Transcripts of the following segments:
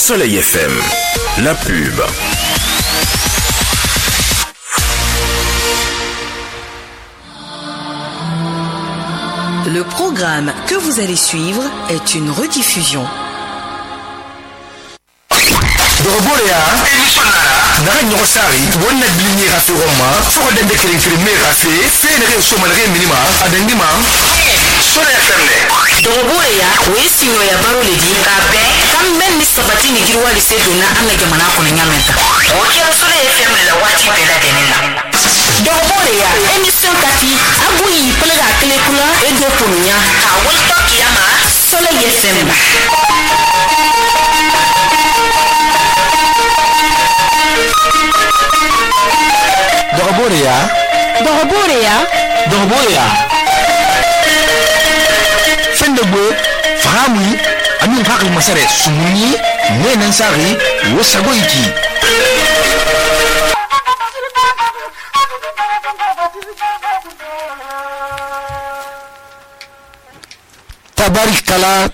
Soleil FM, la pub. Le programme que vous allez suivre est une rediffusion. Doroborea emissionara naga nyogo sari wonna bilini rafi roma foko dende kering kering me rafi fene re so malare minima adengima Soleil FM ne Doroborea wesino ya baro ledi kabe kamben ni sabati ni girwa lise dona amna jamana kono nyamenta okira Soleil FM la wati bela denena Doroborea emission kati abuyi pelega kele kula edo ponya ka wolto kiyama Soleil FM Doroborea Fendegwe Fahamui Amin Fakal Masare Sumuni Nenansari Wosagoiki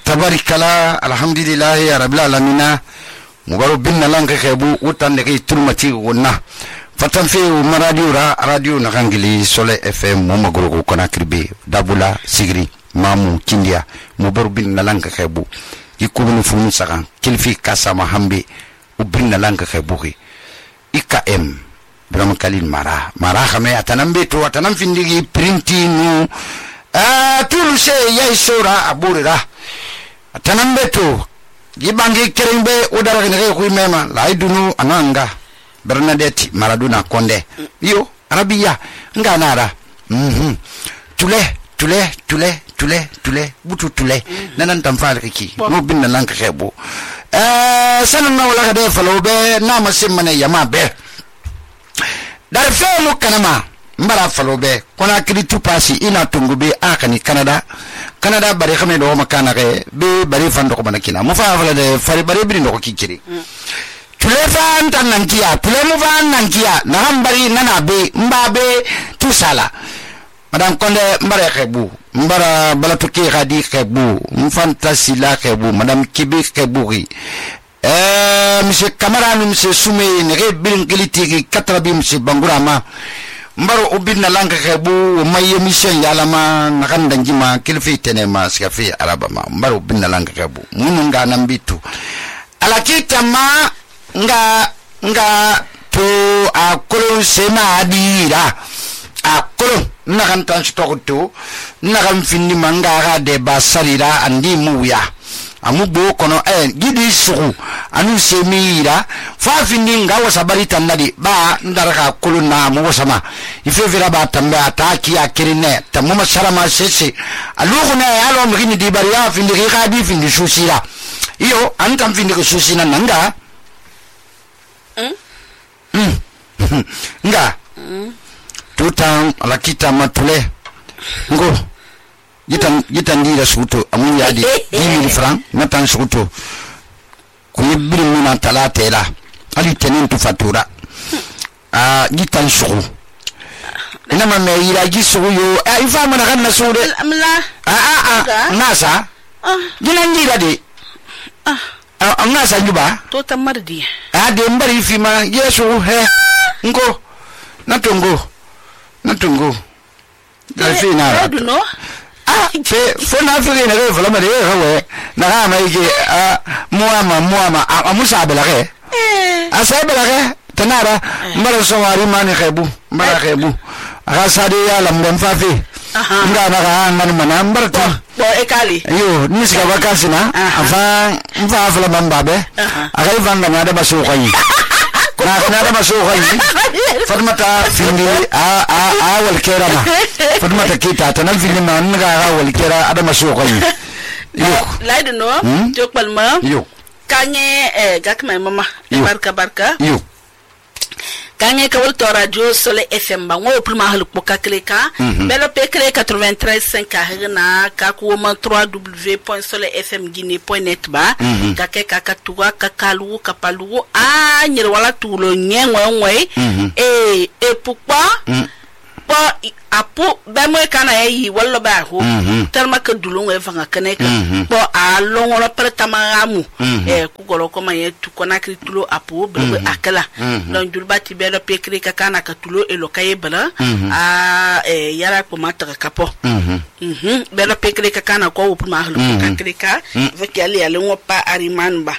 Tabarikala Alhamdulillahi Rabbil Alamina Mugaro bin Nalanka Kebu Utan Deki Turmati Wona Fatan fe radio nakangili Soleil FM momagoro kona kribe dabula sigri mamu kindia mubaru bin nalanka khebu yikubunu funu sakan kilfi kasama hambe ubin nalanka khebu IKM Brahma Kalin mara khame atanambe to atanam findigi printinu tulu se yaisora aburira atanambe to gibangi kerembe udara ngere kuimema laidunu ananga Bernadette Maradona Konde yo Arabia nganara tule butu tule nanan tamfal ki no bin nan ka khebo sanan na wala de falobe na masimane yama be dar fe mu kanama mbara falobe kona kidi tupasi ina tungube akani Canada bare khame do makana ke be bare fando ko banakina mu fa fala de fari bare bi no ko kikiri Tulefan tan nankia, tulemuvan nankia, nahambari nanabe, mbabe, tusala. Madame Konde mbara kebu, mbara balatuki radi kebu, mfantasila kebu, Madame Kibi keburi. Monsieur Camarano, Monsieur Soumé, nere bilingiliti katrabi Monsieur Bangurama. Mbaro ubin na langa kebu, maye mission yalama, nakandanjima, kilfi tenema, skafi arabama. Mbaro ubin na langa kebu, mununga nambitu. Alakita ma, nga to akolo sema adira akolo nakan transporto nakan finni mangara de basarira andi muya amubo kono gidi suku anu semira fa finni nga wasabari tanadi ba ndaraka akolo na mu wasama ifevira ba tamba ataki akirine tamuma sarama sese alugo na alo mgini di bariya finni khadi finni susira iyo antam finni susina nanga nga tutan alakita matule ngo gitan dira suto amu yadi 10,000 francs natan suto ko yibiri muna talatela ali tenen tu fatura gitan suku ina ma ira gisugo yo ifa mana kan nasude nasa ginan dira de amna sanjuba to tamardi de mbari fima yesu he ngo natungo dalfina raduno fona fere na re fala mare hawe na ha mai ke muama amusa belake asabelake tanara mbara sowari mani khebu mbara khebu akasade ya lamdon fafi nga na ga ngani mana mbarta bo ekali yo nisika bakasina afa mfa fala bambabe akai vanga na da baso kwayi na da baso kwayi fatmata findi wal kerama fatmata kita tanal findi man nga wal kera ada baso kwayi yo laido no jokbalma yo kanye gakma mama barka yo Kanye kawal to radio Soleil FM ba ngo prima halu poka kleka belo pe kleka 93.5 na ka ko ma www.soleilfmguinee.net ba ka ke ka tuwa ka kalu ka palu nyir wala tulo nyengwe e pourquoi po apu ba mo kana yi wallo ba ho terma ka dulun e fanga kane ka po a longolo per tamaramu ku golo ko maye tu kona kritulo apu be akala don julba ti be lo pekri ka kana ka tulo e lo kaye bala a yara ko mata ka po be lo pekri ka kana ko pu ma hlo ka krika veki ali ale ngo pa ariman ba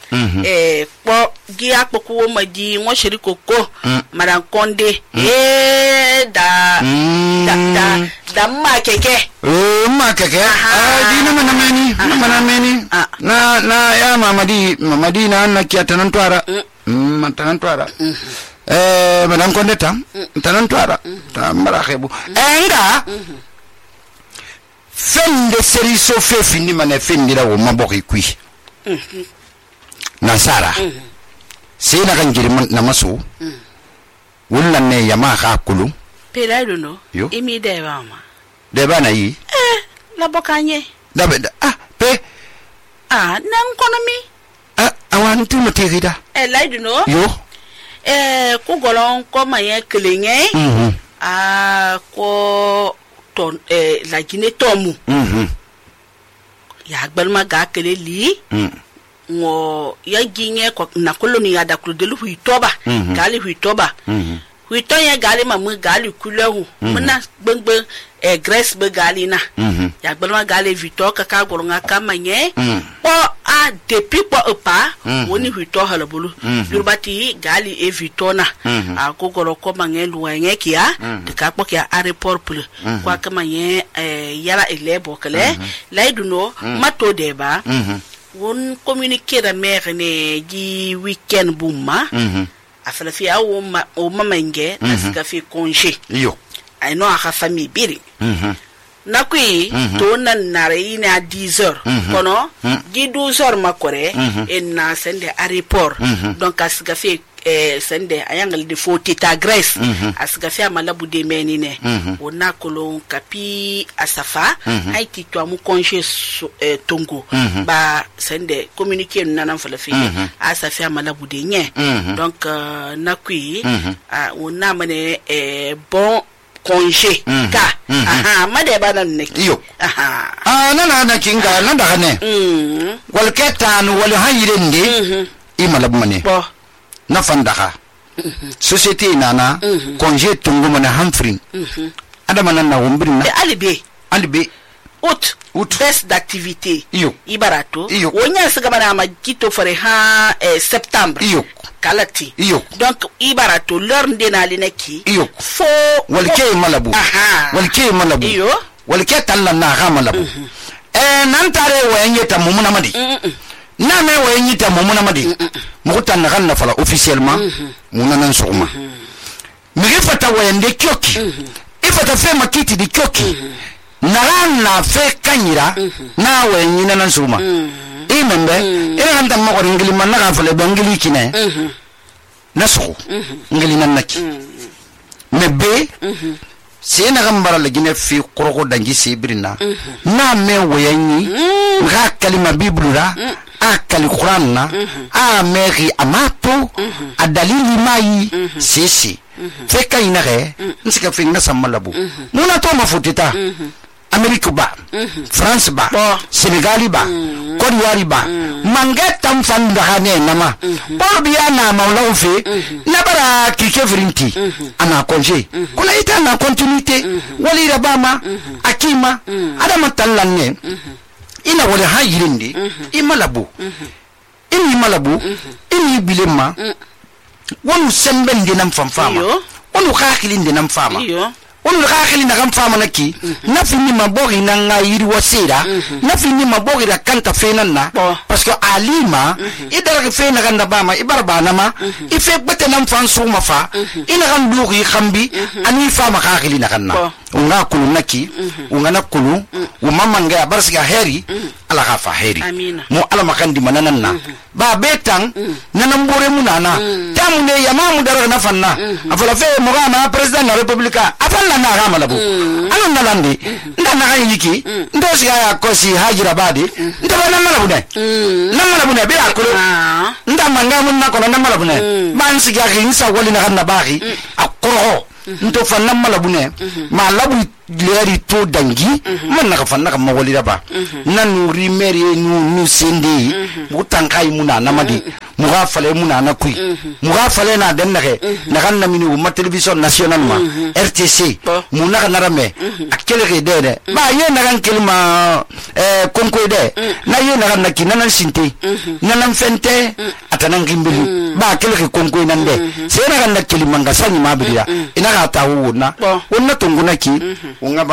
po gia ko ko ma di ngo shiri koko maran konde da ma keke ma keke dina mana meni na ya mamadi na kiya tanan twara tanan twara madan konde tam tanan twara ta mara khebu enga fende seri so fe fini mana fendira wo maboki kui nasara sai na kan girman na maso wullan ne yama ka kulu pela no imi de ba ma de ba na yi la bokanye da pe nan kono mi awan tu mo tegida la no yo ku golon ko maye kelenye ko ton la gine tomu ya gbalma ga kele li ngo ya ginye ko na koloni ya da klodelu huitoba gali huitoba huito ya gali mamu gali kulehu muna gbengbe grace be gali na ya gbalma gali vito ka goronga kamanye po a depuis po opa woni huito halabulu yurbati gali e vito na a ko goro ko mangelu wanye kia de ka po kia airport pul kwa kamanye yara elebo kale laiduno mato deba won communiquer da mère ne di weekend bumma afala fi awo o mamenge asika fi congé yo ay no aka famille biri nakui to nan nare ina 10h kono di 12h makore en na sende airport donc asika fi sende ayangal de foti ta Grèce asika fi amalabu de menine wona kolon kapi asafa haiti to amu congé tongo ba sende communiquer nanan fala fi asafi amalabu de nye donc nakui wona mane bon congé ka made bana neki yo nana kinga nanda ne wal ketan wal hayrende imalabu mane na fandaka société nana congé tungu mana hamfrin adama nan na wombrin na alibe out best d'activité ibarato wonya siga bana ma kito fare ha septembre kalati donc ibarato l'heure ndena lineki fo walke malabu walke talla na ha malabu nan tare woyenye ta mumuna madi na me woyenye ta mumuna madi mukutan na kanna fala officiellement munanan soma migifata woyende kyoki ifata fe makiti di kyoki na fe kanyira na woyenye nan soma imembe ina nda mo ngili man na fala bangili kine nasu ngili nan naki mebe se na gambara la gine fi koroko dangi sibirina na me woyenye ga kalima biblura akali Quran na meri amato adalili mai sisi feka inare nsika finga samalabu muna to mafutita Amerika ba France ba Senegal ba Côte d'Ivoire ba mangeta mfanda hane nama bobiya na maulaw fe na bara kike vrinti ana congé kuna ita na continuité wali rabama akima adama tallanne ina wala hayirinde imalabu ini bilema wonu sembende nam famfama wonu khakilinde nam fama wonu khakilinde nam fama naki nafini mabori na ngayiri wasira nafini mabori ra kanta fenanna parce que alima idara fena ganda bama ibarbana ma ife bete nam fansu mafa ina kan duri khambi ani fama khakilina kanna unga kulu naki unga nakulu umama nga barsiga heri ala gafa heri mo ala makandi manananna ba betang nanambore munana tamune yamamu dara na fanna afala fe mo gama president la republika afalla na gama labu anan nalandi ndana ga yiki ndosi ya kosi hajira badi ndaba na malabu ne be akulu ndama ngamu nakona na malabu ne man siga ginsa wali na ganna bagi akoro nto fanna malabune ma labu leri to dangi man naka fanna kam mawali ba nan rimeri nu sende mutankai muna namadi muga fale muna na kui muga fale na den nake nakan na mini ma television national ma RTC muna kana rame akele ke de ba ye nakan kelma konko de na ye nakan na kinanan sinte nanan fente atanan gimbili ba akele ke konko nan de se nakan na kelima ngasani mabiriya ina ka ta wona wonna tunguna ki unga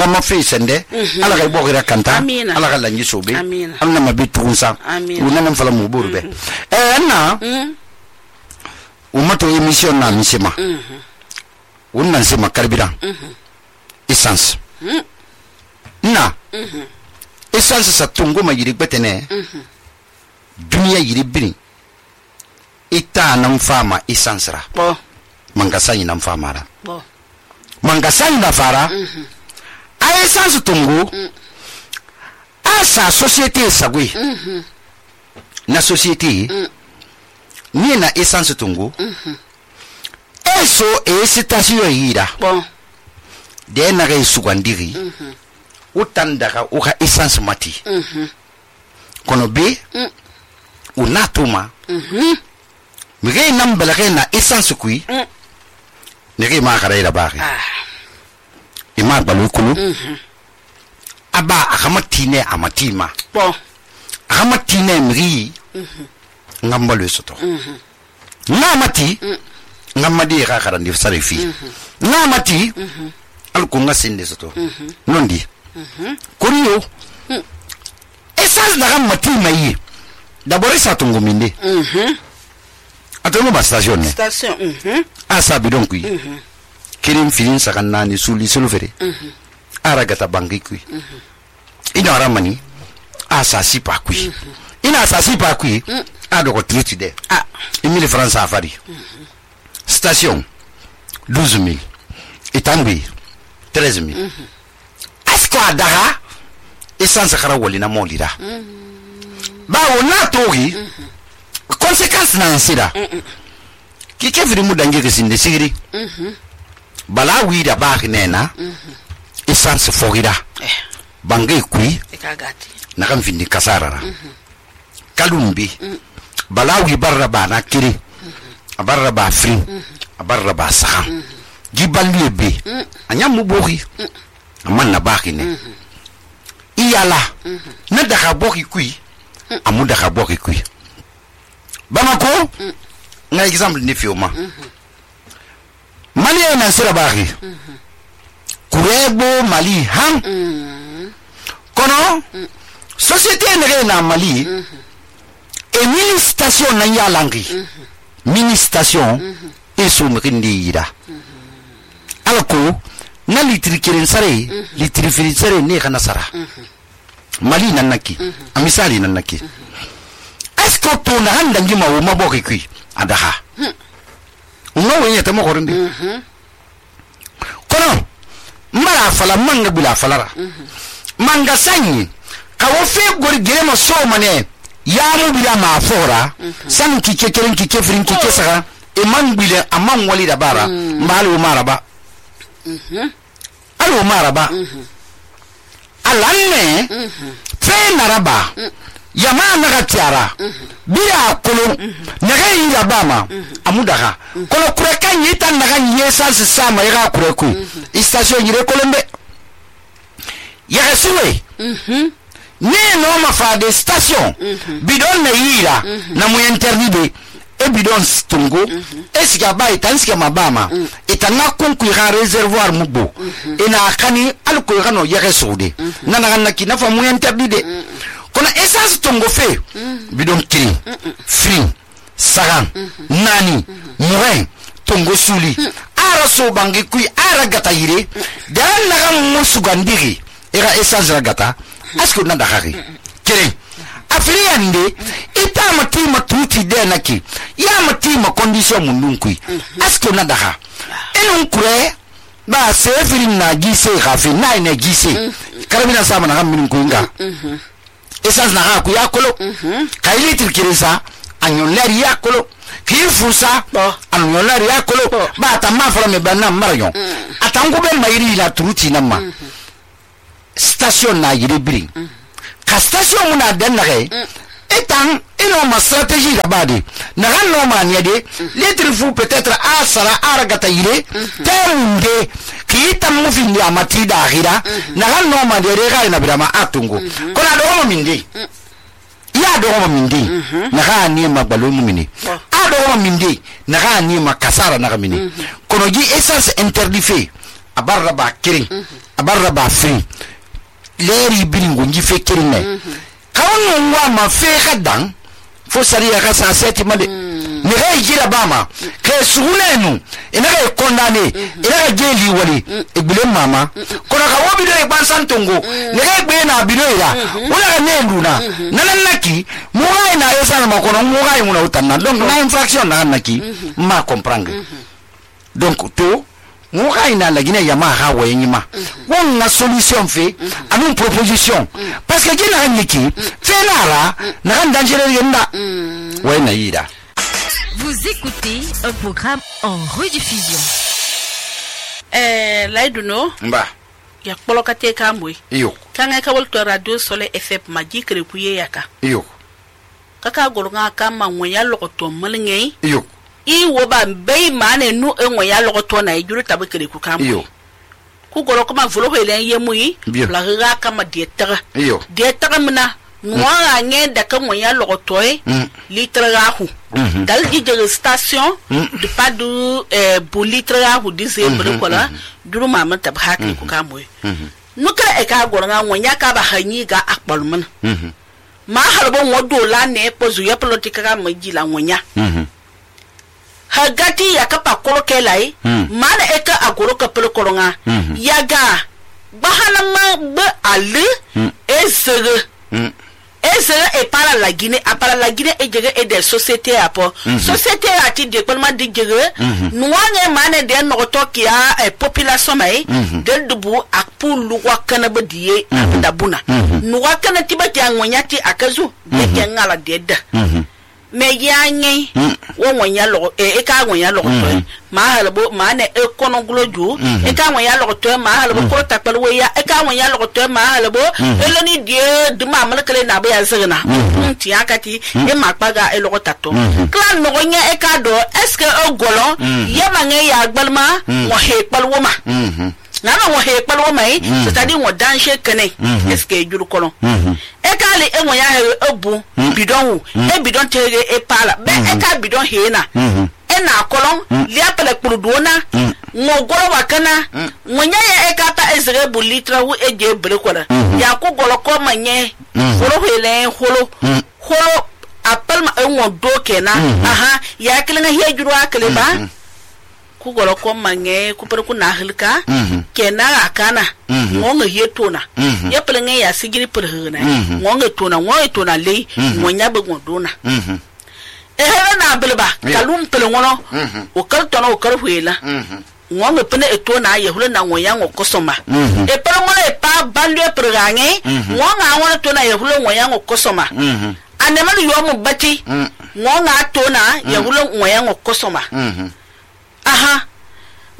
ma fe sende ala ga bogira kanta ala ga lanyi sobe amna mabitu unsa una nan fala mu burbe na umato emission na misema unnan sema carburant essence na essence sa tungo ma yiri betene dunia yiri bini ita nan fama essence ra mangasani nan fama ra mangasani da fara a essence tungo asa société sagwe na société ni na essence tungo eso station yira de na ga sugandiri utandaka uka essence mati kono be unatuma mige nambala na essence kui nige ma karaira bari ima balukulu aba akamatine amatima akamatine mri ngambalo soto ngamati ngamadi ka karandi sarifi ngamati alko ngasinde soto nondi kuriyo essence na ngamatima yi d'abord ça tungo minde atonu ba station ne asa bidon kui kirim filin sakanna ni suli sulfere aragata bangi kui ina ramani asa sipa kui ina sa sipa kui ado ko triti de 1000 francs afari station 12000 itangbi 13000 asko adara essence khara wolina molira bawo na togi conséquence na nsira kike firi mudange kesinde sigiri bala wida baki nena essence fogira bangai kui nakam findi kasarara kalumbi balawi barra ba na kiri barra ba fri barra ba saha giballi be anya mubohi amman na baki ne iyala na daga boki kui amu daga boki kui bamako na exemple ni fioma mali na sira baki kurebo mali han kono société nere na mali e mini station na yalangi mini station e so mrindi ira alko na litri kiren sare litri firin sare ne kana sara mali nanaki amisali nanaki esko to na handa ngima wo maboki kui adaha no wenye tamo korindi kono mara fala manga bila falara manga sanyi kawo fe gori gerema so mane ya mu bila ma fora san kike keren kike frin kike saka e man bila amman wali da bara malu maraba alo maraba alanne fe naraba yama naga tiara bila kolo naga ira bama amudaga kolo kureka nyita naga nyesa sama ira kureku station yire kolombe ya suwe ne no ma fa de station bidon na ira na mu interdit e bidon stungo esika ba itanska mabama itanga kunku ya reservoir mubo ina kani alko yano ya sude nana na kinafa mu interdit kono essence tongo fe bidon kiri free sagan nani morin tongo suli ara so bangi kui ara gata yire dan naga musugandiri era essence gata asko nanda khari kire afriande ita matima tuti de naki ya matima condition mundun kui asko nanda kha enun kure ba sefiri na gise khafi na ina gise karabina sama na gamin kuinga essence na ku yakolo kaili tirkirisa anyon leri yakolo ki fusa an yola ya kolo ba ta ma fara me banna marayon atango be mayiri la turuti namma station na yiri biri ka station muna dan nage etan ino ma stratégie da bade na ganno ma ne de litre fu peut-être a sara aragata yire tembe ki tam mu fi ya mati da akhira na ganno ma de re na bidama atungo kona do mo minde ya do mo minde na ga ni ma balo mu mini a do mo minde na ga ni ma kasara na ga mini kono ji essence interdit abarra ba kirin abarra ba free leri biringo nji fe kirin ne kawon wa ma fe kadan fo sariya ka sa seti made ni ga jira bama ke sunenu ina ga kondane ina ga jeli wali ibile mama kono ka wobi do e bansan tongo ni ga gbe na bino ira wala ga ne nduna nanan naki mu ga ina yesa ma kono mu ga yuna utanna donc na infraction na naki ma comprendre donc to mu ga ina la gine yama ha wayima won na solution fait anu proposition parce que gina niki fait nara na dangereux yenda wayna yida. Vous écoutez un programme en rediffusion. Laiduno Mba ya polokate kamwe iyo kanga ka wolto radio Soleil FM majikre kuye yaka iyo kaka golonga kama ngoya lokoto malngei iyo I woba bei mane nu engoya lokoto na ijuru tabekere ku kamwe iyo ku golo kuma volo hele yemui la ga kama dietara iyo dietara mna noa nge da ka ngoya lokoto litre rahu dal di station de pas du pour litre rahu disembre kola duru mama tab hakri ku kamwe nuka e ka golonga ngoya ka ba hanyi ga akbalmun ma harbo wodo la ne pozu ya politika ga majila ngoya hagati ya kapa koroke lai mana eka agoro kapelo koronga yaga bahala ma ba ali ezere e para la Guinée e jege e de société apo société ati de palma de jege nuange mane de no toki a population mai de dubu akpu luwa kana badiye dabuna nuwa kana tibati angonyati akazu de ngala de da me yanyi wo wonya lo e ka wonya lo to ma halbo ma ne e kono gloju e ka wonya lo to ma halbo ko takpal we ya e ka wonya lo to ma halbo elo ni die de ma malkale na ba ya zigna ti akati e ma paga e lo tato klan no wonya e ka do est ce que o golon ye ma nge ya gbalma wo he kpal wo ma nana wo he kpal wo mai c'est-à-dire wo danger kene est ce que juru kolon e ka le e wonya he obu bidon e bidon tege e pala be e ka bidon he na e na kolon li apele kpurudona ngo goro wakana wonya ya e ka ta ezere bu litra wu e je bere kola ya ku golo ko manye horo hele holo apel ma e ngo do kena aha ya kilinga he juru akele ba ku golo ko mange ku per ku na hilka kena akana ngonga yetona ya pelenge ya sigiri per hena ngonga tona le ngonya be ngodona ehera na belba kalum pelongono o kal tono o kal huela ngonga pene etona ya hule na ngonya ngokosoma e pelongono e pa balwe pergange ngonga ngona tona ya hule ngonya ngokosoma anemali yomu bati ngonga tona ya hule ngonya ngokosoma aha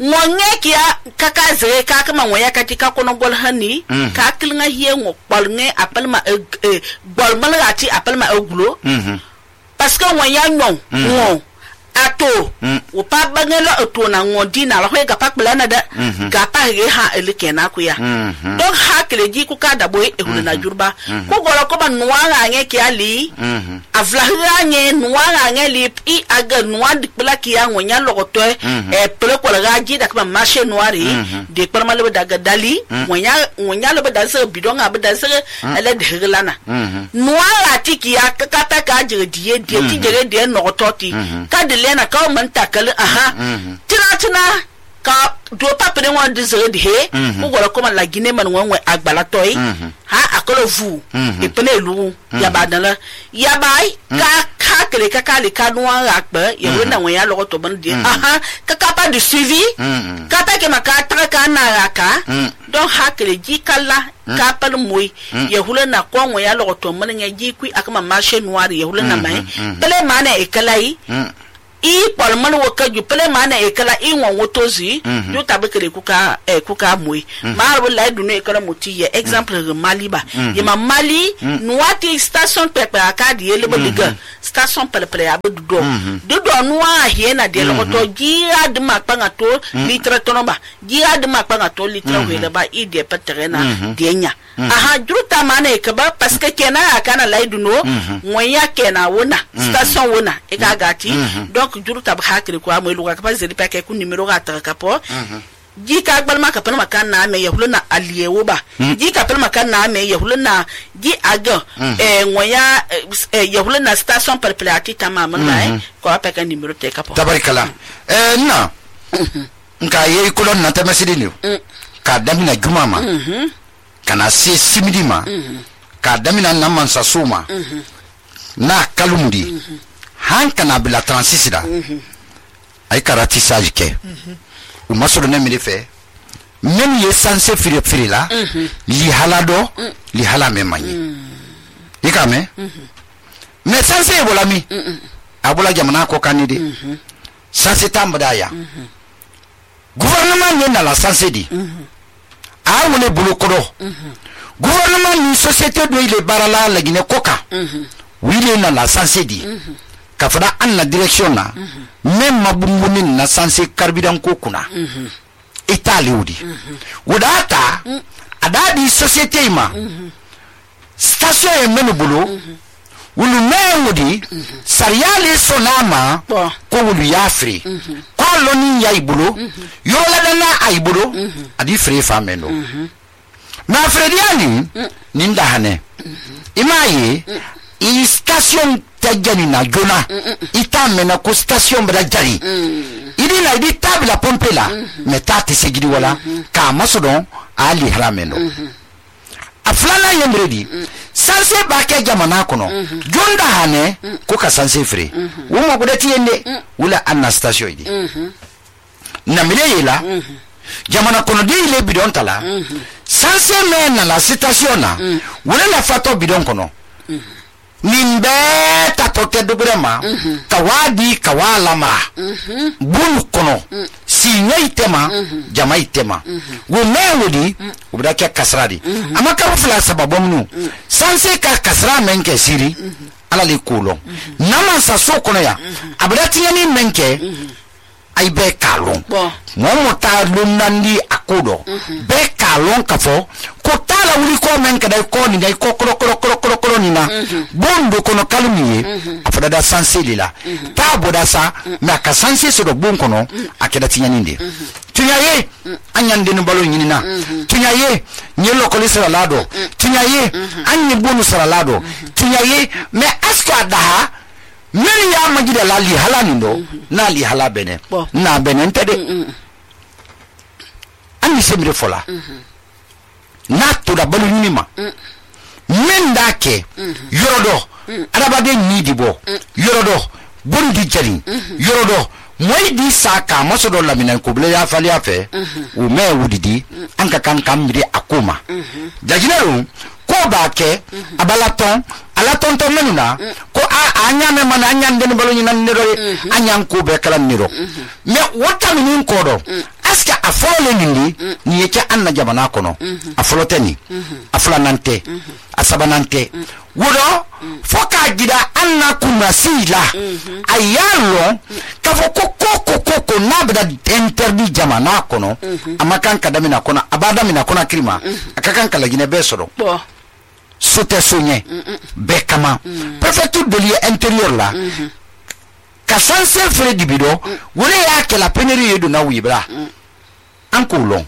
ngonye kia kaka zere kaka ma ngoya katika kono gol hani ka kilnga hiye ngo balnge apalma balmal ati apalma ogulo parce que ngoya ngo ato o pa bangelo ato na ngodi na la hoega pakbala na da ga pa ge ha elikena ku ya donc ha kleji ku ka da boy e hulna jurba ku golo ko ban nuwa nge ki ali avla nge nuwa nge li I aga nuwa dikbala ki ya ngonya logoto e pele ko la ji da ka marché noiri de perma le daga dali ngonya le da se bidon ga da se ele de hilana nuwa ati ki ya ka ta ka jige die ti jige de no toti ka de lena ka man takal aha tina ka do papere won dizere de he ko gora ko man la Guinée man won agbala toy ha akolo vu e pele lu ya badala ya bai ka kele ka kale ka no akba ya wona won ya lo to ban de aha ka pa de suivi ka ta ke maka tra ka na aka donc ha kele ji kala ka pal moy ya hula na ko won ya lo to man nya ji ku akama marché noir ya hula na mai pele mana e kalai I palman wo ka ju pele mana e kala I won wotozi yo tabekere kuka moy marbo la du ne kala moti ye exemple Mali ba ye ma Mali nuati station pepe akadi ye lebo liga station pepe ya do noa hiena de lo to gira de makpanga to litra tonoba gira de makpanga to litra wele ba I de peterena de nya aha juruta mana e ka ba parce que kena akana la du no moya kena wona station wona e ka gati donc juruta ba hakri ko amoy luga ka zeli pa ke ku numero ga ta ka po ji ka gbal maka pan maka na me yahuluna aliyewo ba ji ka pan maka na me yahuluna ji aga ngoya yahuluna station perpleati tamama ba ko apeka numero te ka po tabarikala na nka ye kolon na tamasidi ni ka damina jumama kana se simidima ka damina na mansa suma na kalumudi hankana bila transisida ay karatissage ke o masoro ne mi fe même ye sanse firi la li halado li hala me mani ikame mais sanse bolami abola jamana ko kanide sanse tambada ya gouvernement ne na la sanse di a wole bulu kodo gouvernement ni société do ile barala la gine koka wile na la sanse di ka fada an na direction na même mabumbuni na sanse carburant ko kuna Italie wudi wudata adadi société ma station e menubulu wulu mewudi sariale sonama ko wulu yafri ko loni yaibulu yola dana aibulu adi free fameno na frediani ninda hane imaye I station tajani na jona itame na ko station bra jari idi na idi tabla pompe la metati segidi wala ka masodon ali harameno aflana yemredi sanse bake jamana kono jonda hane ko ka sanse free wo mo godati yende wala anna station idi na mileyela jamana kono di le bidon tala sanse men na la station na wala la fato bidon kono nimbe tatoke dubrema kawadi kawalama bulu kono sinya itema jama itema wo mewudi ubdake kasradi amaka fula sababomnu sanse ka kasra menke siri ala le kulo nama sa sokono ya abdati yani menke ay be kalon momo ta lunandi akodo be kalon kafo ko tala wuri ko men kada ko ni dai ko kro ni na bondo kono kalmiye afada da sanseli la ta boda sa na ka sanse so do bon kono akeda tinyande tunyaye anyande no balo nyina tunyaye nyelo ko lisara lado tunyaye anyi bonu sara lado tunyaye me aska daha meri ya majida la li halani ndo na li hala bene na bene ntede ani semire fola na to da balu nyima menda ke yorodo arabade nidibo yorodo bondi jali yorodo moidi saka masodo lamina ko ble ya fali afe o me wudidi anka kan kamri akoma jajinero ko ba ke abalaton alaton to menuna ko anya me man anya den balo ni nan niro anya ko be kala niro me wata min ko do aska afole nindi ni yake anna jabana kono afoloteni afulanante asabanante wodo foka gida anna kumasila ayalo kafo koko nabda interdit jamana kono amakan kadamina kono abadamina kono krima akakan kala gine besoro sote sonye bekama préfecture de lieu intérieur là kasanse fere dibido wole ya kela peneri yedo na wibra ankolon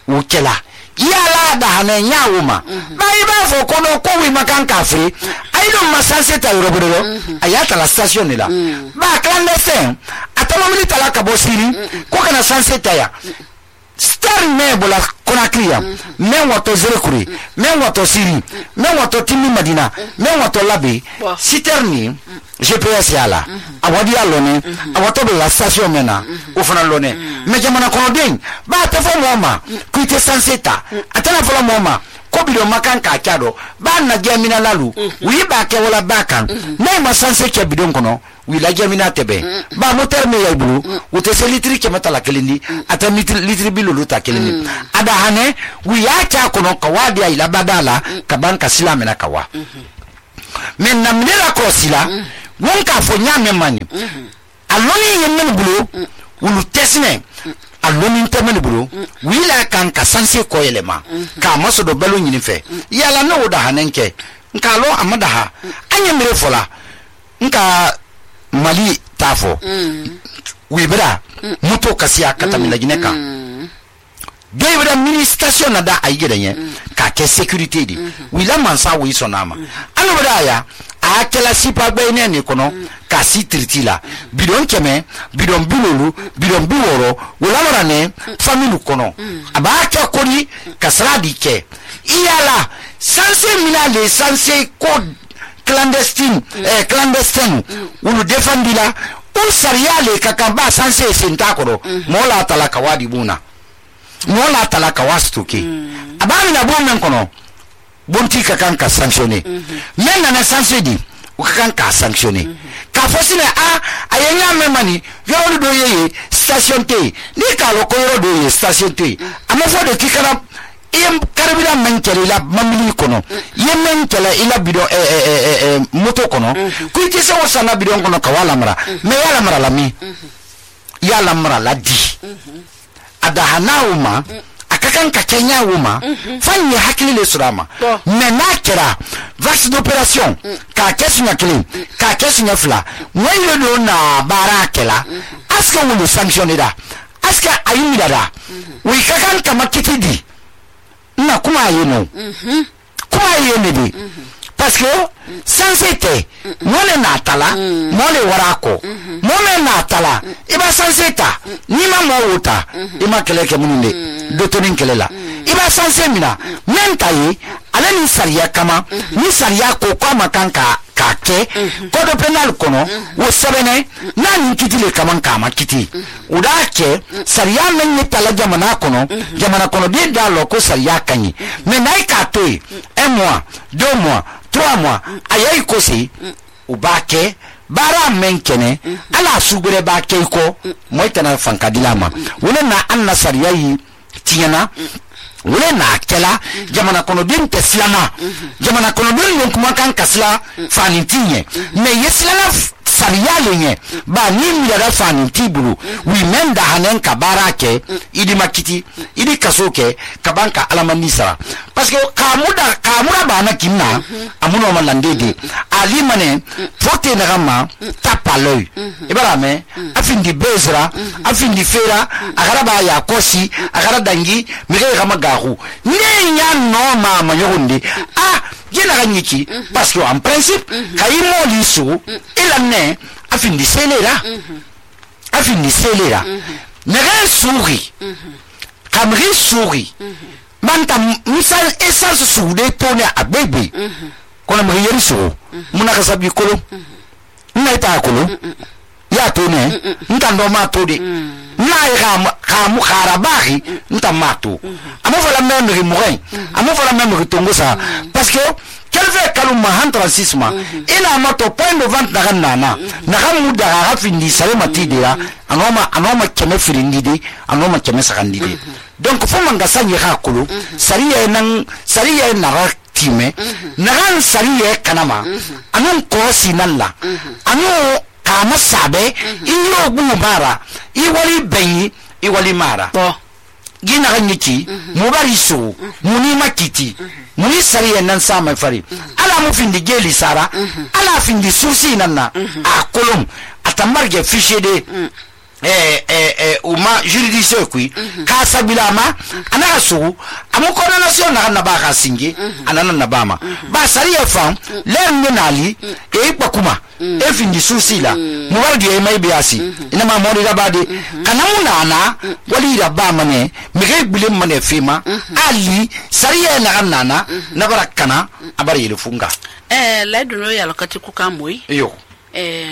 wo kela yala da hane nyawuma bai ba fo kono ko wi makan kafri aido masanse ta yoroboro ayata la station ni la ba clandestin atama milita la kabosiri ko kana sanse ta ya star mebola konakria men wato zerekuri men wato siri men wato timi madina men wato labi siterni GPS yala awadi alone awato be la station mena ofana lone me jamana kono den ba ta fo moma kuite sanseta atana fo moma ko ko bidon makan ka chado ba na jamina lalu wi ba ke wala bakan nay ma sanse ke bidon kono wi la jamina tebe ba moteur me ya bulu wote se litri ke mata la kelindi ata litri bilulu ta kelindi ada hane wi ya cha kono kawadi ila badala ka banka silamena kawa men namnela ko sila won ka fo nyame mani aloni yemen bulu wulu tesne aloni temen bulu wila kan ka sanse ko yelema ka maso do belo nyini fe yala no da hanenke nka lo amada ha anya mere fola nka mali tafo wibra muto kasiya katamila gineka Debra ministration na da aygedenye ka ke security di wila mansa wi sonama alo bada a kala sipa gbe ne ni kono ka si tritila bidon keme bidon bilolu bidon biworo wala mara ne family kono aba ka kori kasradi ke iyala sanse mina le sanse code clandestine ulu defendila un sariale kakamba sanse sentakoro mola talaka wadi buna mola talaka wastuki abami na bomen kono bonti kakan ka sanctionné men na sanctionné o kakan ka sanctionné ka fosine ayenya memani yoro do ye station te ni ka lo ko yoro do ye station te amafo de kikana iyem karabida mankele la mamili kono yemen kala ila bido moto kono kuiti se wasana bido kono kawala mara me yala mara la mi yala mara la di ada hanauma akakan ka Kenya wuma fanyi hakili le surama menakera vaccine d'opération ka kesu nya clean ka kesu nya fla wenyo do na barakela aska wulu sanctionné da aska ayimida da wi kakan kama kitidi na kuma yeno kuma yenedi parce que sans c'était mole natala mole warako mole natala iba sans eta ni ma mawuta ima keleke muninde dotonin kelela iba sans mina mentayi ala ni sariya kama ni sariya ko kama kanka kake kodo penal kono wo sabene nani kitile kaman kama kiti udake sariya men ni tala jamana kono de dalo ko sariya kanyi mais nay ka toy 1 mois 2 mois 3 mois ayai kosi ubake bara menkene ala sugure ba ke ko moitana fankadilama wala na anna sariya yi tiana wala na kela jamana kono din teslama jamana kono din kuma kan kasla fanintinye me yeslana sariyale nye ba ni miyara fani tibulu wi menda hanen ka barake idi makiti idi kasoke kabanka alamani sara parce que kamura bana kimna amuno malandede ali mane fote na gama tapa l'œil ibara me afindi bezra afindi fera agaraba ya kosi agara dangi mege gama gahu ne nya no mama yorundi jena ganyiki parce que en principe kayimo liso ilane afindi selera nere souri kamri souri manta misal essence soude tone abebe kona mriyeri so muna kasabi kolo naita kolo ya tone ntando matode na kamu kharabari ntamato amofa memri morin amofa memri tongosa parce que quel fait kaluma 36 mois ina mato point de vente na nana na hamuda hafindi sale matidira anoma keme firindide anoma keme sakandide donc faut mangasa nyira kolo sariya na time na ran sariya kanama anan ko sinalla anu kama sabe iyo bumara iwali bayi iwali mara gina ganyiki mubari so muni makiti muni sariya nan sama fari ala mu findi geli sara ala findi susi nanna a kolom atamarge fichier de uma juridiction kui ka sabilama anaka su amoko na nation na ba ka singe anana na bama ba sariya fam le nali e pakuma e findi susi la muwardi e mai biasi ina ma mori da bade kana munana wali da ba mane mege bilim mane fema ali sariya na nana na barakana abari ile funga la duno ya lokati kukamoi yo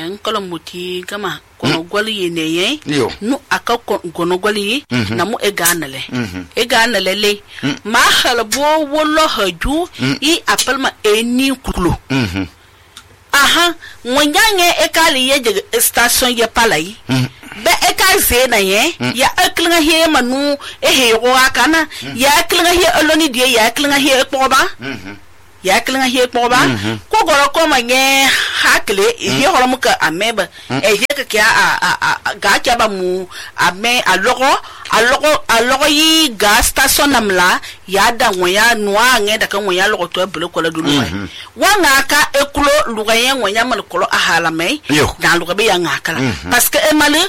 nkolo muti kama kono goli ye neye Yo. nu aka kono goli na mu e ganale le ma halbo wolo haju I appelle eni kulu aha nwanyange e kali ye station ye palai be e ka zena ye ya aklinga he manu e he ro akana ya aklinga he oloni die ya aklinga he ekpoba ya aklinga he ekpoba ko goro ko manye hakle he horo muka ameba e he ka kya ga kya ba mu ame alogo yi ga station namla ya da wonya noa nge da kan wonya logo to bele ko la dulu wa nga ka ekulo lugayen wonya mal kolo ahala mai dan lugabe ya nga kala parce que e mali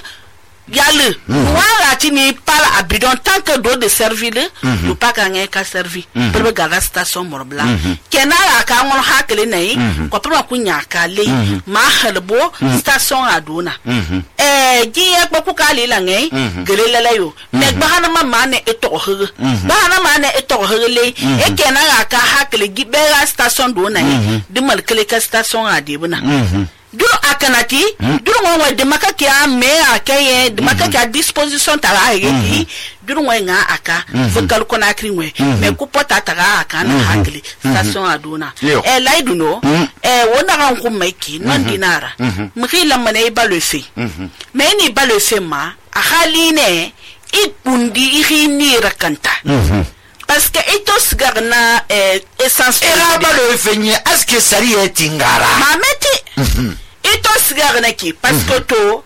yale wala tini pala abidon tant que do de servir le pas gagner ka servi pour garder station morbla kenala ka ngol hakle nei ko pour ku nyaka le ma halbo station aduna giye ko ka le la ngai gelele yo me bahana ma ne etohe bahana ma ne etohe le e kenala ka hakle gibera station do nei de mal kele ka station adibuna duro akanati duro ngwa de makaki a me akaye de makaki a disposition tala ayeki duro ngwa nga aka vokal kona krinwe me ku pota taga aka na hakli station aduna laiduno wona ran ku meki non dinara mkhila mane ibalofe me ni balofe ma a haline ikundi ihini rakanta parce que etos garna essence era le fenye aske sari etingara mameti etos garna ki parce que to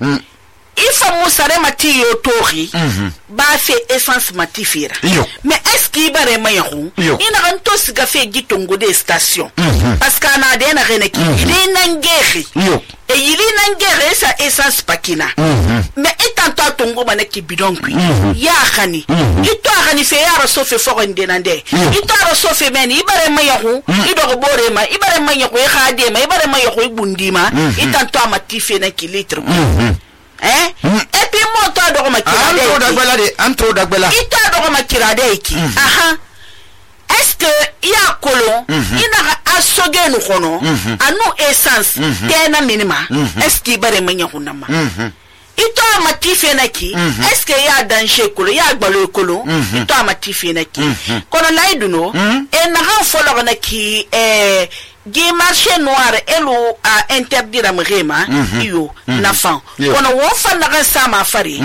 ifa musare mati yo tori ba fe essence matifira mais est-ce qu'il bare mayahu ina kan to siga fe gitongo de station parce que na de na reneki ile nangeri e ile nangeri sa essence pakina mais etant to tongo manaki bidon kui ya khani ito khani fe ya so fe fo ngende nande ito ro so fe meni ibare mayahu ido bore ma ibare mayahu e khade ma ibare mayahu bundima etant to matife na kilitre et puis moi toi do makirade antro dagbela ita do makirade ki aha est-ce que ya kolon ina asoge no kono anu essence tena minima est-ce que bare manya hunama ito matife naki est-ce que ya danger kolo ya gbalo kolo ito matife naki kono laiduno e na han folo naki gi marché noir elo a interdire amrema iyo na fan kono wo fan na sama fari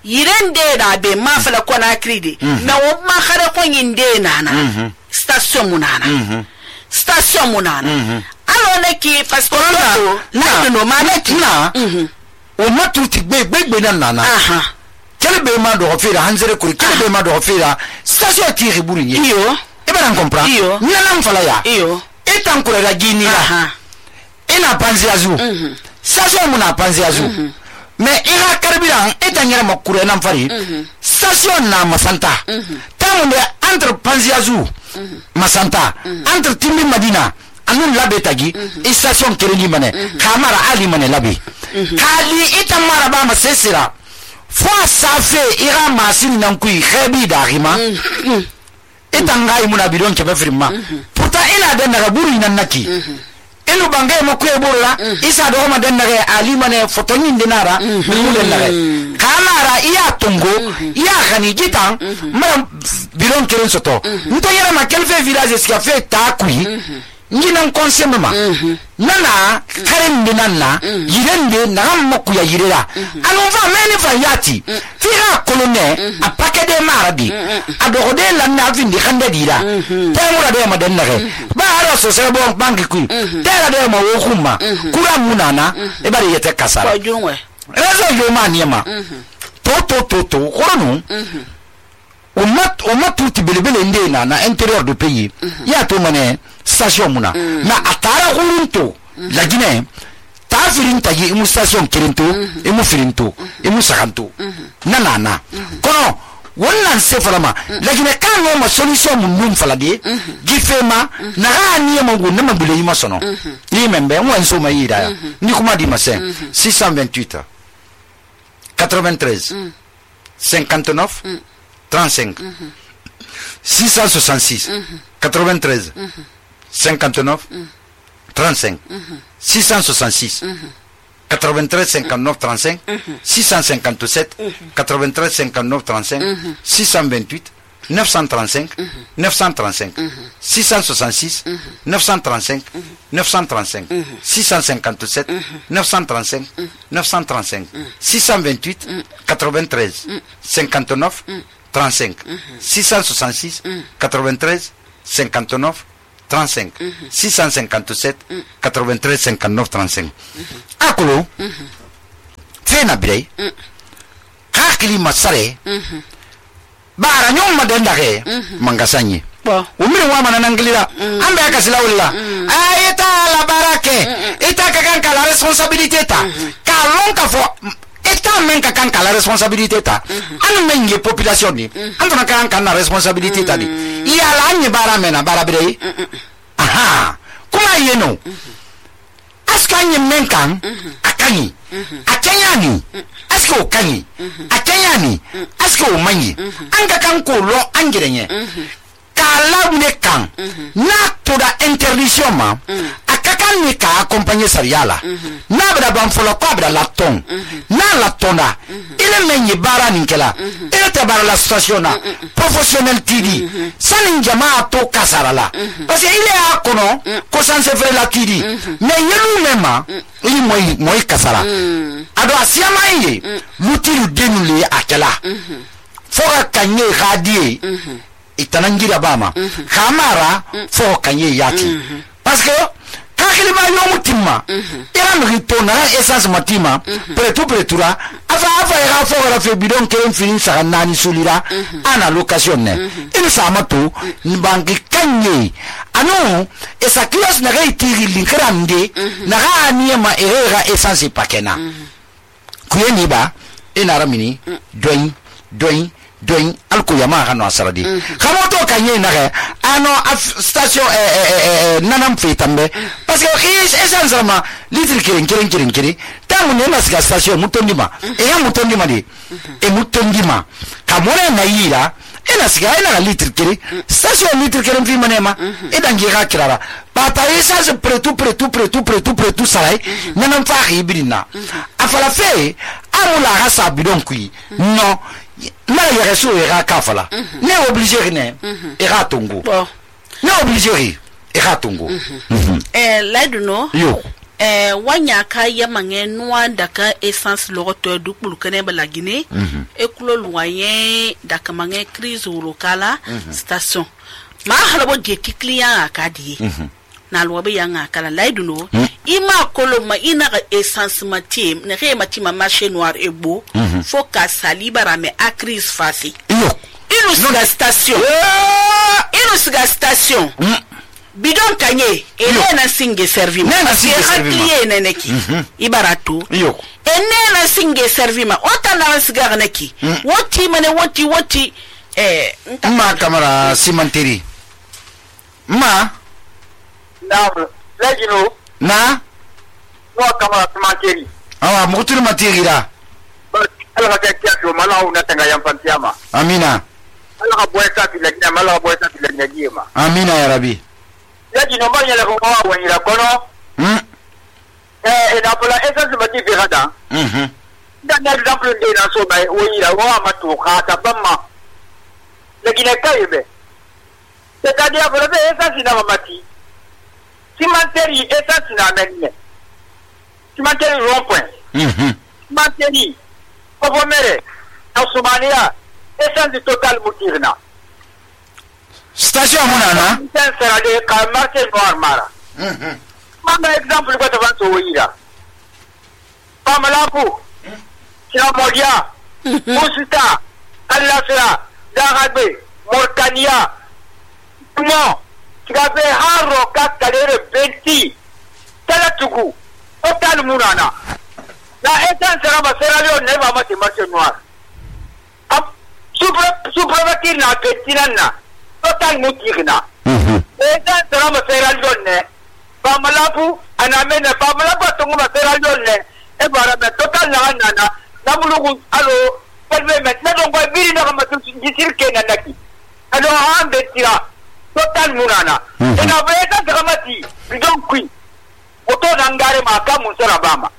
yirende da be ma fala kona kride na wo ma khare ko yinde nana station munana alo neki parce que la no ma neki na o matuti gbe na nana kelbe ma do fira hanzere kuri kelbe ma do fira station tiri burinye iyo e ba comprendre nana mfala ya iyo etan kure la gini la ina panzi azu station muna panzi azu mais ira karbiran etan yara makure nan fari station na masanta tamunde entre panzi azu masanta entre timbi madina anun labe tagi station kereni mane kamara ali mane labe kali etan mara ba masesira fo safe ira masini nan kui khabi darima etan ngai muna bidon ke bafirma pourtant ina den daga buru nan naki elu bangai makuye burla isa do ma den daga ali mane fotoni dinara mu den daga kamara iya tungo iya khani gitan mara bidon keren soto nto yara ma kelfe village ski fait takui nginan konsema nana karen dinanna yirende na makuya yirera anu va meni fa yati fira kolone a pakede marabi adogode la na vindi khande dira temura de maden nare ba ara so se bon banki ku tera de ma wo khuma kura munana e bari yete kasara rezo yo maniema to khoronu o mat tout belebele ndena na intérieur du pays ya to mané station muna na atara khurunto la Guinée ta firinta yi mu station kirinto e mu firinto e mu sakanto nana kono wannan se falama la Guinée kan no ma solution mun falade gifema na rani ma ngu na mabule yi masono ni membe wan so ma yida ni kuma di masen 628 93 59 35 666 93 59 35 666 93 59 35 657 93 59 35 628 935 935 666 935 935 657 935 935 628 93 59 35 666 93 59 35 657 93 59 35 akulu fena birey kakili masare bara nyom madendake mangasanye umiri wa manana ngilira ambe akasila wala ayeta la barake eta kakan la responsabilité ta kalon ka fo eta men kakan la responsabilité ta anu men ye population ni andona kan la responsabilité ta ni iya la nyi bara mena bara birey aha kuma yeno askanye men kan akani akanyani asko kanyi akanyani asko manyi anga kan ko lo angirenye kala ne kan na to da interdiction ma akakan ni ka accompagner sariala na bra ban folo ko bra la ton na la tonda ile menyi bara ninkela ile te bara la station na professionnel tidi sanin jamaa to kasarala parce que ile akono ko sanse fere la tidi mais yelu mema ili moy kasara ado asiama yi lutilu denule akela foka kanye radie itanangira bama kamara foka kanye yati parce que kakili ba yo mutima era mrito na essence matima pretura afa era foka la fe bidon ke fin sa nani sulira ana location ne il samato banki kanye ano esa classe na reitiri linkrande na ga ma era essence pakena kuyeni ba ina ramini doin alko yama hano asaradi khamoto kanye na ga ano station nanam fetambe parce que essence ma litre kirin tamu ne na station mutondima ya mutondima di e mutondima kamone na yira ena siga ena litre kiri station litre kirin fi manema e dangira kirara pata essence pretu sarai nanam fa hibirina afala fe amula rasa bidon kui non na ya reso era kafala ne obligé ne era tongo ne obligé era tongo laduno yo wanya ka yamange noa daka essence logoto du kulukane balagine e kulo loyen daka mange crise locale station ma halabo je client akadi na lwabe yanga kala laiduno ima koloma ina essence matim ne re matima marché noir ebo faut ka salibara me a crise face ino siga station bidon kanye ele na singe servima client neneki ibarato ene na singe servima otana siga neki woti mane woti ma kamera simanteri ma Legino na no kama tumakeri awa mutulu matiri da ala ka kiasi mala una tanga yampantiama amina ala ka boyeta tilanya mala boyeta tilanya giema amina ya rabbi Legino banya la ko wa wanyira kono ina pola essence mati virada dan exemple de na so bai wanyira wa matuka ta bamma Legino kaibe c'est-à-dire que essence na mati Cimenterie essence na menye. Cimenterie rond-point. Cimenterie Povomere na Somalia essence total mutirna. Station munana. Sera de ka marché noir mara. Manda exemple ko to vanto wira. Pamalaku. Modia. Musita. Alasra. Darabe. Morkania. Comment Kigabe haro kakalere benti talatugu total munana la essence raba seralio neba mati marché noir supre na pentinana total mutirna essence raba seralio ne pamalapu anamene pamalapu tunguma seralio ne e bara me total na nana nabulugu alo pelve met na dongo biri na kama jisirke na naki alo ambe tira total munana ina veta dramati bidon kui oto nangare maka musera bama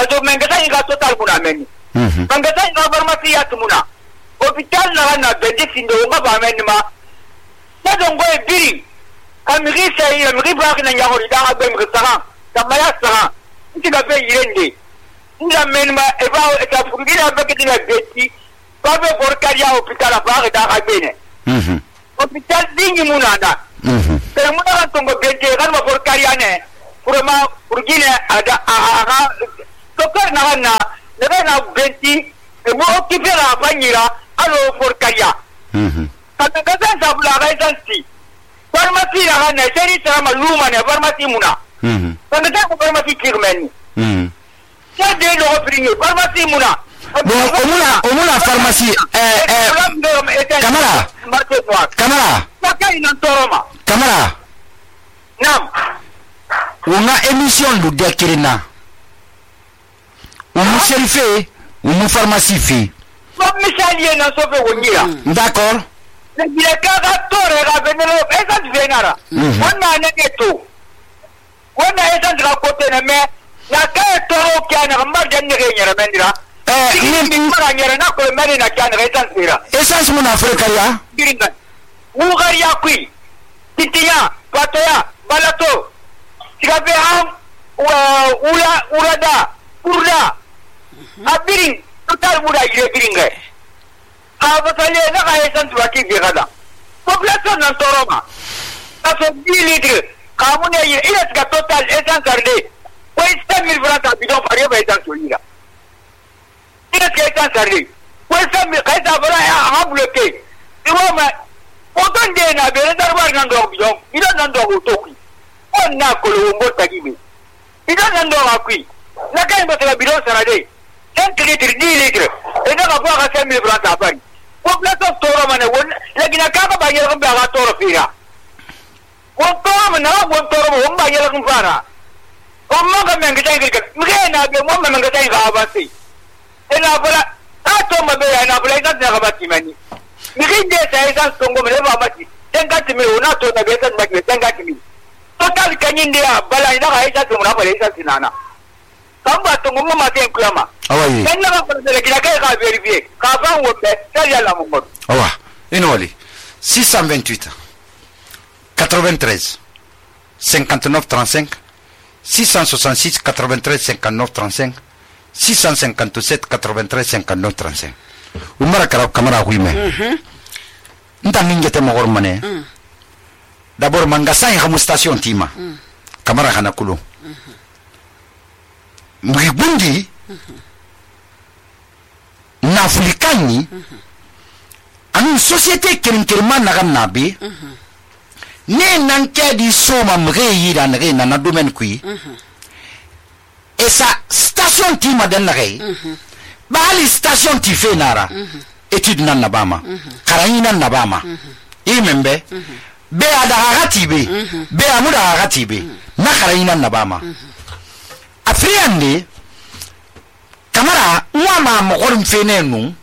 parce mengasa inga total muna meni mengasa inga pharmacie ya tumuna hôpital na bendi sindo nga ba meni ma na dongo e biri amiri sai amiri ba kana nyagori da ga be mrisa kamaya sa ntiga be yirende nda meni ma e ba e ta furgira ba ke dina beti ba be porcaria hôpital ba ga da ga bene hôpital dingi muna da pero muna tongo beti kan ma porcaria ne purama purgine ada aga dokter na benti e mo kifera banyira alo porcaria kata kata sabula ga isansi farmasi na na seri sama luma ne farmasi muna kata ta farmasi kirmeni ya de lo oprinyo farmasi muna omuna farmasi kamara pakai nan toroma kamara nam una émission lu dekirina umu serife umu pharmacie fi misali na sofe wongira d'accord le kaga tore ga benelo esa venara wonna ne to wonna esa dra kote ne me na ka toro kya na mbar janne ge nyara mendira ni mara nyara na ko mari na kya na esa sira essence mun afrika ya giringa ugariya kui titiya patoya balato sigabe ham urada urda abiring total muda ire biringa abasale na ga esan tuaki bi gada population nan toroma taso 10 litres kamune ire ga total esan sarde ko 1000 francs bidon pare ba esan solira ire ga esan sarde ko 1000 kaisa bara ha bloqué iwama oton de na bere darbar nan do bidon ire nan do toki on na ko lo mo tagibe ire nan do akui na kai ba ta bidon sarade 5 litres 10 litres et na ga ba 5000 francs apari population toro mane won lagina kaka ba yela ko ba toro fira won toro mana won toro won ba yela ko fara o mo ga men ga tay ga mge na be mo men ga tay ga ba si ina bala ta to ma be na bala ita na ga ba ti mani mge de sai san songo me ba ba ti den ga ti me ona to na be san ba ke den ga ti mi total kanyin dia bala ina ga ita to na bala ita sinana kamba to mo ma te kuyama awayi kan na ko de kira kai ka vérifier ka fa wo be sai ya la mo ko awa inoli 628 93 59 35 666 93 59 35 657 93 59 35 umara kamara huime nta mingete mo gormane d'abord mangasai ha station tima kamara hana kulo mgibundi na afrikani anu société kirinkirma na nabi ne nan ke di soma mge yira na domaine kui esa station tima den na gay bali station ti fe nara étude nan nabama karani nan nabama imembe be ada hagati be amuda hagati be na karani nan nabama afriande kamara mwama mokorim fene nu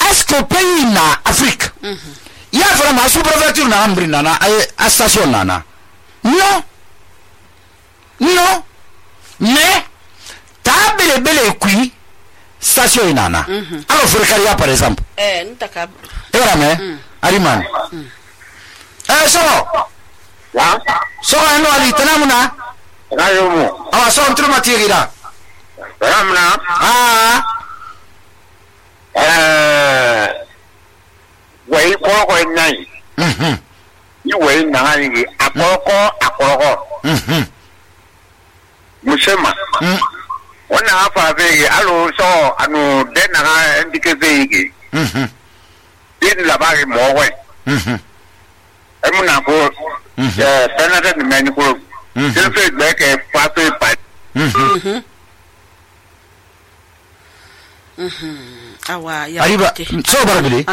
est-ce que pays na Afrique ya fara ma sous-préfecture na ambri na a station nana non mais ta bele kui station nana alors Frikaria par exemple ntaka era me ariman so no ali tanamuna rayomo awa so ntru matirira ramna wai ko nai ni wai na ni akoko musema wannan afa zai alo so anu den na ndike zai yi din labari mo wai emuna ko benata ni meni ko din fe gbe ke fa fe pa awa ya arriba so barbili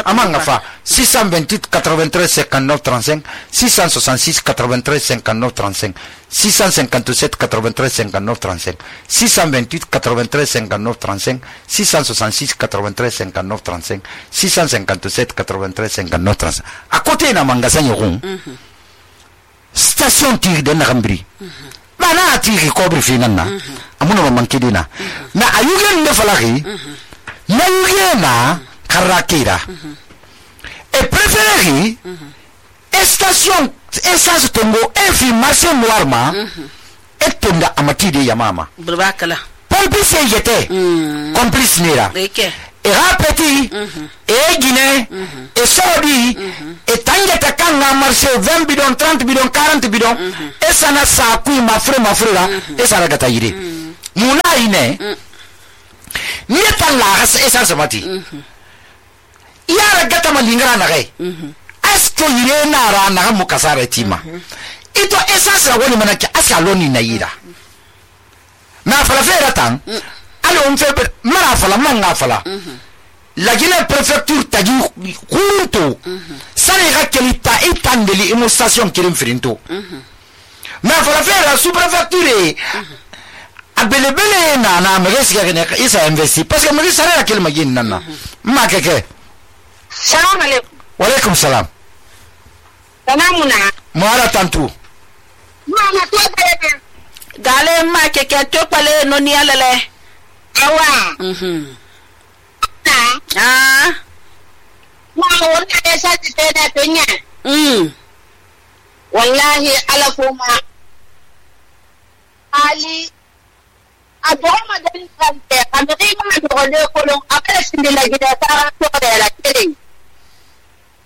amanga fa 628 93 59 35 666 93 59 35 657 93 59 35 628 93 59 35 666 93 59 35 657 93 59 35 à côté na manga sanyo station tir de Nagambri ba na ati ko bi finan na amuna man kidina na ayugen ne falaki na yugena karakira e préféré station essence tongo e fi marché noir ma e tonda amati de yamama burbakala polisi yete complice nira e rapeti e Guinée e Saudi e tangeta kanga marché 20 bidon 30 bidon 40 bidon e sana sa ku mafrera e sana gata yire muna ine nieta la essence mati yara gata malingara na gai asko yire na ra na mu kasara tima ito essence ra woni manaki asa loni na yira na fala fera tan alo on fait mara fala manga fala la Guinée préfecture tagi kurunto sani ga kelita itandeli imo station kirim frinto na fala fera sous préfecture abelebele na mresi ga ne isa investi parce que mresi sara kel magin nana ma keke salam alaikum wa alaikum salam salamuna mara tantu mama to bele gale ma keke to pale no ni alele awa ma wona esa tena penya wallahi ala kuma ali adoma den kante amiri ma dole kolon akala sindila gida tara to la kiri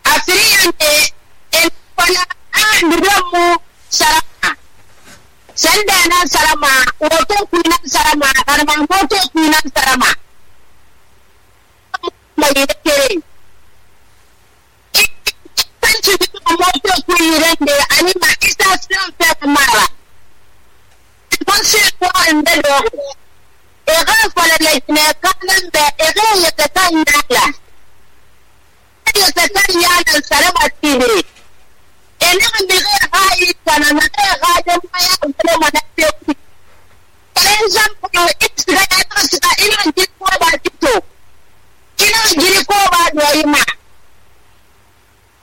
afiriyante en fana andiramu sarama sandana sarama woto kuinan sarama karma woto kuinan sarama mai kiri kanci woto kuinan de anima isa sun fe mara konse ko ande do e ga fala le ne kanan be e ga ya ta nyala ya ta nyala sarama tire ena mbige hai kana na ga de maya ko mana te par exemple extra ta ina ji ko ba tito ina ji ko ba do ima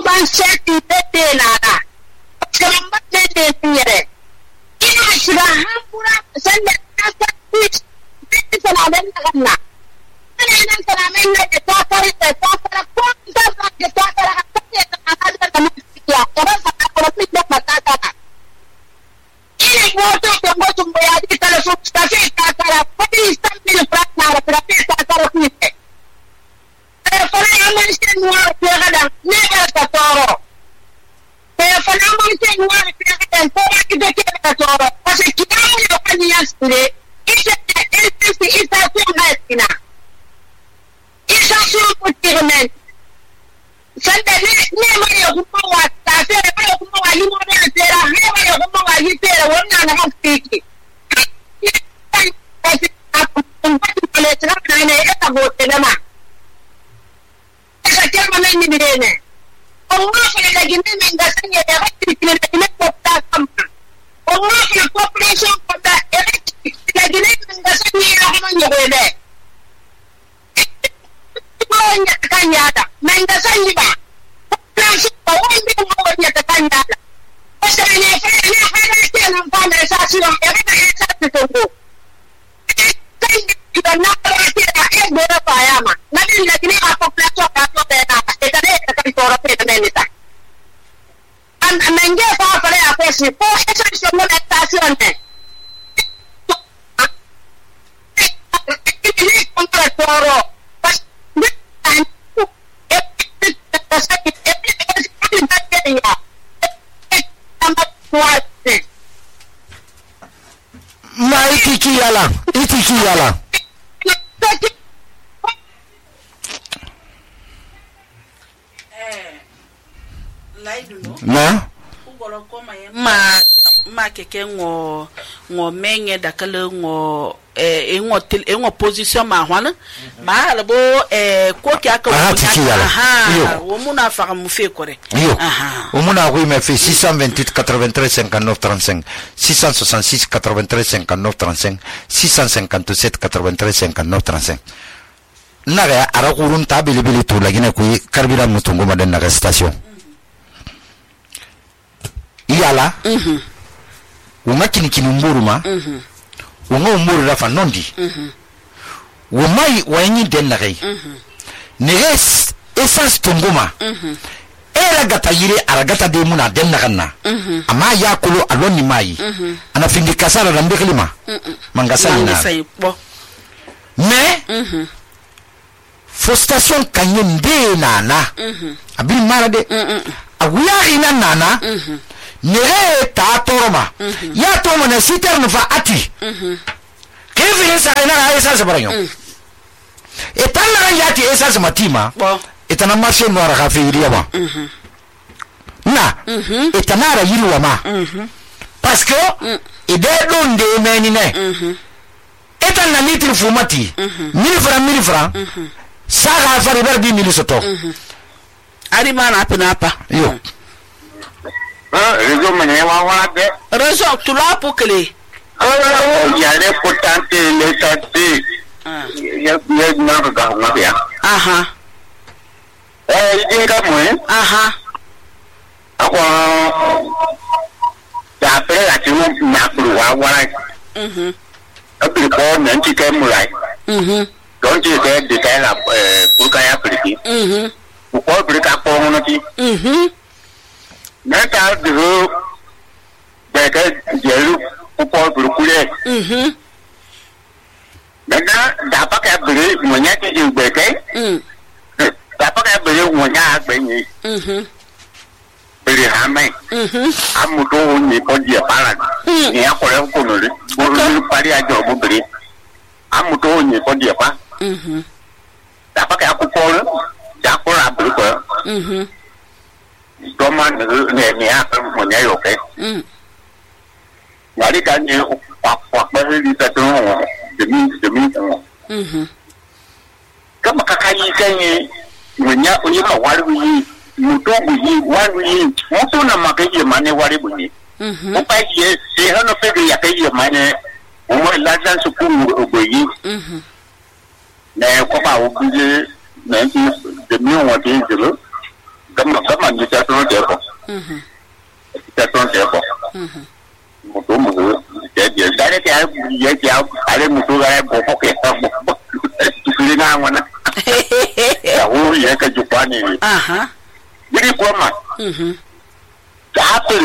ban seti te na na kamba te te yere ina shiga hambura sanda ta ta salamen na ganna ina salamen na ta fara ko ta fara ta ya orang kata politik dah patah. Ini moto yang bayar di telefon stasi kata polis tampil prakna tapi kata kita. Telepon yang mesti nuar kadang negar katoro. Telepon yang mesti nuar kadang pola kita katoro. Pasal kita punya panian sendiri. Isa pun Isa pun sanda ne mai kuma wata sai mai kuma wali mu ne tsera ne mai kuma wali tsera wannan na hakiki ne tsara ne ita gote na ma aka ce mana ni ne amma fa da gindi min ga sanya da hakiki ne ne ko ta kamba amma fa population ko da da gindi min ga sanya ya kuma ne ne ya kan yada men da sanyi ba shi ba wanda ya ta kan yada wanda ne fa ke nan fa da sa shi ya ga ya ta tungo sai da na ra ke da e gora fa ya ma na din da kini a population ka to da na e da ne ta kan toro pe da ne ta an men ge fa fa ya fa shi ko e sa shi mo da ta shi on ne ni kon tra toro ma itiki yala na ma keke ngo menye dakale ngo ngo position ma hwana ma albo ko kya ka wo muna fa mu fe kore o muna ko me fait 628 93 59 35 666 93 59 35 657 93 59 35 naga ara kurun tabili to lagina ku karbira mutungo madan naga station yala wonga kinikini mburuma wonga umburu rafa nondi womai wayanyi den nagai neges essence tongoma era gata yire aragata de muna den naganna ama yakulu aloni mai ana fingi kasara rambe klima mangasani na mais fo station kanye mbe nana abi mara de awuya ina nana nere ta toroma ya tomo na siter fa ati kevin sa ina ha esa se baranyo etana ran yati esa se matima etana marché noir ha feiriya ba na etana ra yiru ma parce que ide don de menine etana litre fumati 1000 francs saga fari berbi milisoto ari mana apa yo réseau mene wa de réseau tu la pour que les il y a les potentes les tati il y a na ga ma bien aha idinga mo aha akwa ya pere la timo na kuru wa abi ko men ti ke mu lai donc je vais détailler la pour qu'il y a plus pourquoi plus qu'à pour on dit mais t'as de j'ai pourquoi pour couler maintenant d'abord qu'à brûler mon nya qui est béquet d'abord qu'à brûler mon nya béni brûler hamé amuto ni pas dire par là ni à quoi on connaît pour parler à job brûler amuto ni pas dire pas dapat kayak aku call, aku rabel kok. Cuma ni apa punya oke. Jadi kan ni pak di satu demi. Kamu kakak ini punya waru mutu mutu nama kerja mana waru bunyi. Apa ye sehan apa dia kerja mana umur lasan suku bunyi. Ne ko ba o buje ne ti de mi won ti jelo kama ni ta ton de ko ta ton de ko mo to mo de dare ti ye ti ale mo to ga bo ko ke ta mo ti na wana ya wo ye ka ju pa ni aha ni ko ma ta pe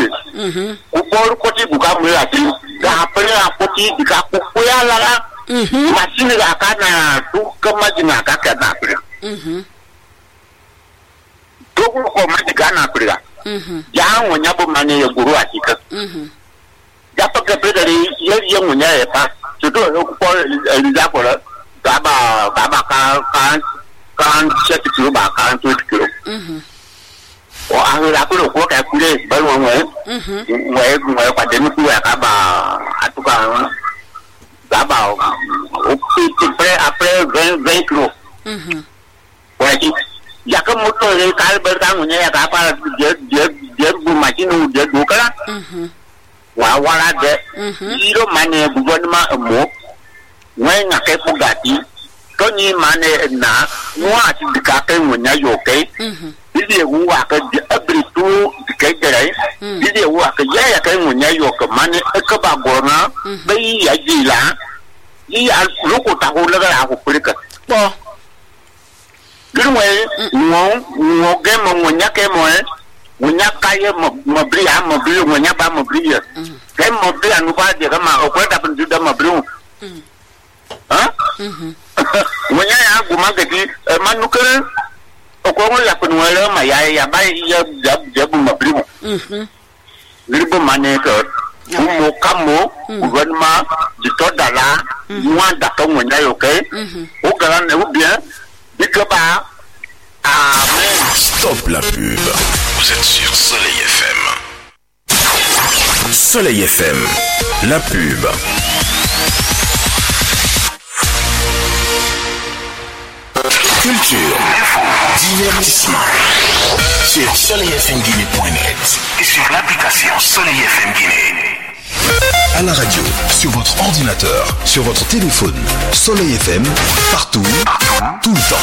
o bo ko ti bu ka mo la ti ga pe la ko ti ka ko ya la masih akan tu kemajuan kakak nak pergi. Tu kau masih kan nak pergi. Jangan punya pemane yang guru asik. Dapat kerja dari yang punya apa? Contoh kau lihat kau baba kan set kilo bahkan 7 kilo. Oh akhir aku kau kayak kulit baru mulai pada mutu ya kaba atau kan Dabau, après 20 kilos. Wajib. Ya ke motor ni kalau bertanggunnya ya kapal dia macam dia buka lah. Wawala de. Iro mana bukan mak Ngai ngakai pugati. Kau ni mana na? Mua si dikakai munya yokai. Jadi gua ke abri tu dikai gerai. Jadi gua ke ya kai munya yokai mana kebagorna. Bayi ya jila. Iya loko tahu lega aku pergi. Oh. Gerwe ngo game munya ke munya kaya mabri munya ba mabri ya. Game mabri anu pa dia kama okwe dapat sudah mabri. Hah? Munya ya guma gadi manukere okwe ya penuele ma ya ba ya jabu mabri. Gerbe mane ke Umu kamu gouvernement du Todala moi d'accord mon ayo OK au grand ou bien dikeba amen. Stop la pub. Vous êtes sur Soleil FM. Soleil FM, la pub. Culture, divertissement. Sur soleilfmguinée.net et sur l'application Soleil FM Guinée. À la radio, sur votre ordinateur, sur votre téléphone. Soleil FM, partout, tout le temps.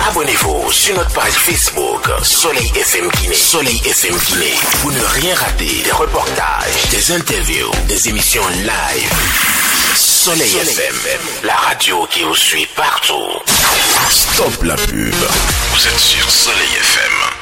Abonnez Abonnez-vous sur notre page Facebook Soleil FM Guinée. Soleil FM Guinée. Pour ne rien rater des reportages, des interviews, des émissions live. Soleil FM, la radio qui vous suit partout. Stop la pub. Vous êtes sur Soleil FM.